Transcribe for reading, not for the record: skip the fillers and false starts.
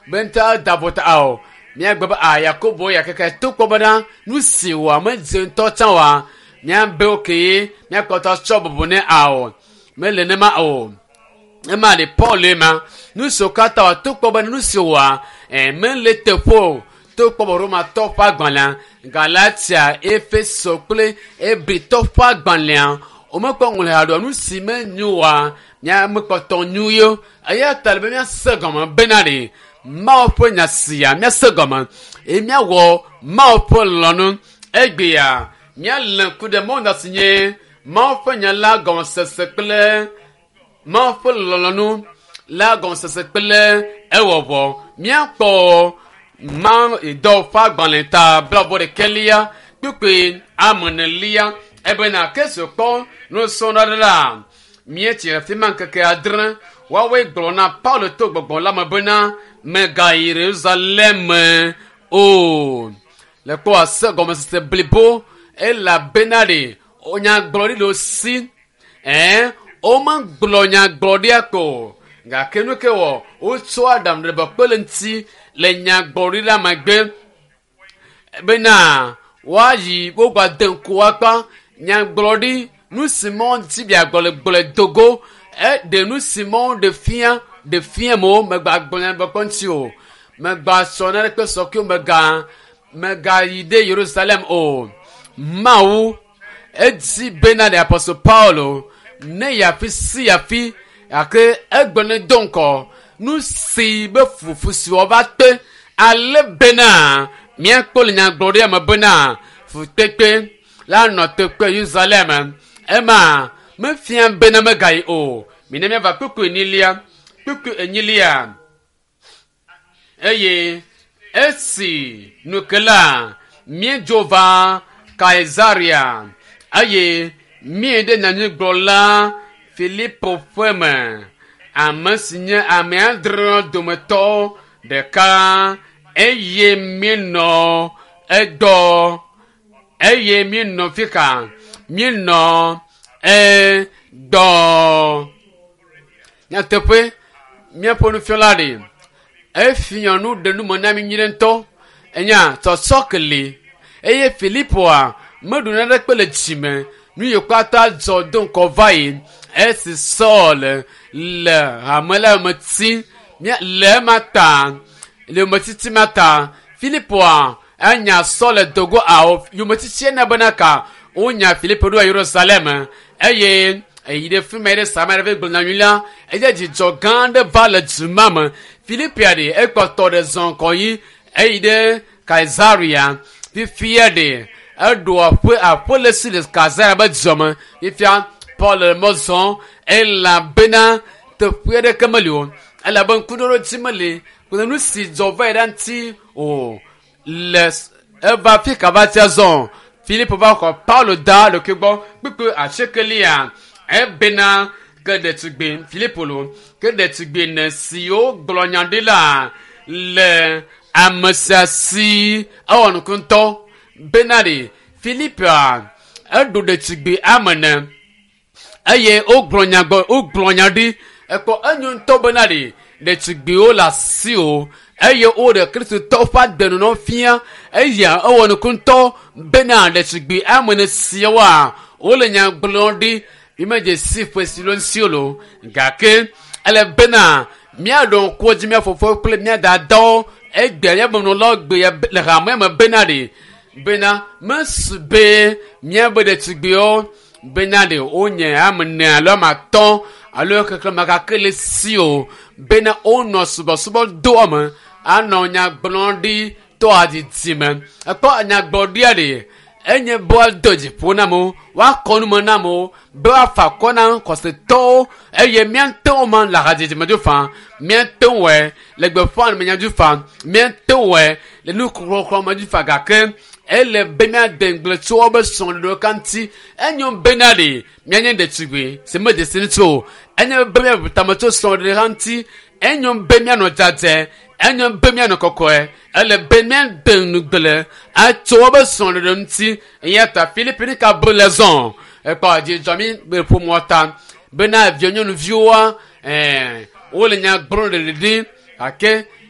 Be ŋutɔ da vo ta ao. Míagbe be a Yakobo ya keke to kpɔ bena nu si wɔ medze ŋutɔ tsã oa, míabe okay míakpɔtɔ tsɔ bubu nɛ ao. Mele nema o. Ema le Paul ma. Nu siwo katã wɔ to kpɔ be nu si wɔa mele teƒe o. To kpɔ be Romatɔ ƒe agbalẽa, Galatia, Efeso kple Hebritɔ ƒe agbalẽa, womekpɔ ŋlɔe haɖe o. Nu si menyo oa, míamekpɔtɔ nyo ye. Eya ta le be míase gɔme bena ɖe Mawu ƒe nya sia míase gɔme eye míawɔ Mawu ƒe lɔlɔ̃nu. Egbea míalé ŋku ɖe Mawu nya si nye Mawu ƒe nya la gɔmesese kple Mawu ƒe lɔlɔ̃nu la gɔmesese kple ewɔwɔ. Míakpɔ Mawu dɔ ƒe agbalẽ ta 21 kpukpui 4 ebena Kristo kpɔ nusrɔ̃la ɖe la míetsi le afi ma ŋkeke 6 woawoe gblɔ na Paulo to gbɔgbɔ la me bena megayi Yerusalem o. Le kpɔ ase gɔmesese blibo elabena ɖe nyagblɔɖi le wo si. Womegblɔ nyagblɔɖia ko gake nu ke wɔ wotsɔ aɖaŋu ɖe kpe le ŋuti le nyagblɔɖi la megbe bena woayi wogbade ŋku akpa nyagblɔɖi nu si mɔ ŋuti biagblɔ le gblɔe dogo eɖe nu si mɔ ɖe fia ɖe fia mo megba gblɔ nya kpɔ ŋuti o megba sɔ na ɖe kpe sɔkewo mega megayi ɖe Yerusalem o. Mawu edi bena ɖe Apostle Paulo ne yafi si yafi gake egblɔ ne do ŋkɔ nu si be fufu si wòava kpe ale bena míakpɔ le nyagblɔɖia me bena fukpekpe la nɔ teƒe Yerusalem. Ema mefia bena megayi o. Mina míava kpukpui 2. Kpukpui 2. Eye esi nukela míedzo va Kaesaria eye míeɖe nyanyuigblɔla Filipo ƒe me, ame si nye ame 6 dometɔ ɖeka eye míenɔ egbɔ eye míenɔ fika míenɔ egbɔ. Nyateƒe míaƒe nufiala ɖe efia nu ɖe nu me na mi nyuie ŋutɔ. Enya tsɔtsɔ ke li eye Filipoa meɖu naneke le dzime nu yi katã dzɔ do ŋkɔ va yi esi Saul le hame la me ti le ema ta le yometiti ma ta Filipoa enya Saul le dogo awo yometiti ena bena ka wonya Filipo ɖo Yerusalem eye eyi ɖe fi ma yi ɖe Samaria va gblɔ nyanyui la eye dzidzɔ gã aɖe va le du ma me. Filipia ɖe ekpɔtɔ ɖe zɔ ŋkɔ yi eyi ɖe Kaesaria fifia ɖe eɖo aƒe aƒe le si le Kaesaria be dua me. Fifia Paul le mɔ zɔm elabena teƒe aɖeke meli o elabe ŋkuɖoɖodzi meli kple nu si dzɔ va yi ɖe ŋuti o le eva fi ka va tia zɔ Filipo va xɔ Paulo da ɖokui gbɔ kpukpui 8 ebena ke ɖetugbi Filipo lo ke ɖetugbi ne siwo gblɔ nya ɖi la le ame sia si ewɔ nuku ŋutɔ bena ɖe Filipoa eɖo ɖetugbi ame ene eye wogblɔ nya gbɔ wogblɔ nya ɖi ekpɔ enyo ŋutɔ bena ɖe ɖetugbiwo le asi o eye woɖe kristotɔwo ƒe agbenɔnɔ fia eya ewɔ nuku ŋutɔ bena ɖetugbi ame ene siawoa wole nya gblɔm ɖi mímedze si ƒe si lo ŋuti o lo gake ele bena míaɖo ŋku dzi mía fofowo kple mía dadawo egbe míaƒe nunɔlawo gbe le hamea me bena ɖe bena mesu be míabe ɖetugbiwo bena ɖe wonye ame ene alo ame 5 alo xexlẽme gake le si o bena wonɔ subɔsubɔ doa me anɔ nya gblɔm ɖi to adidi me. Ekpɔ nyagblɔɖia ɖe enye be woado dziƒo na amewo, woakɔ nu me na amewo, be woafa akɔ na xɔsetɔwo eye míate ŋu ma le hadzidzi me dzo faa, míate ŋu wɔe le gbeƒã me nya dzo faa, míate ŋu wɔe le nuxɔxlɔ̃ me dzo faa gake ele be míade ŋugble tso woƒe srɔ̃ɖeɖewo ka ŋuti. Enyo bena ɖe míanye ɖetugbui si medze si ŋuti o. Enyo be míabu tame tso srɔ̃ɖeɖe hã ŋuti. Enyo be míanɔ dzadzɛ. Enyo be míanɔ kɔkɔe. Ele be míade ŋugble atso woƒe srɔ̃ɖeɖe ŋuti. Eya ta Filipi ɖeka be le zɔ. Ekpɔ dzidzɔ mi be ƒomea ta bena via nyɔnuviwoa wole nya gblɔm ɖeɖe gake.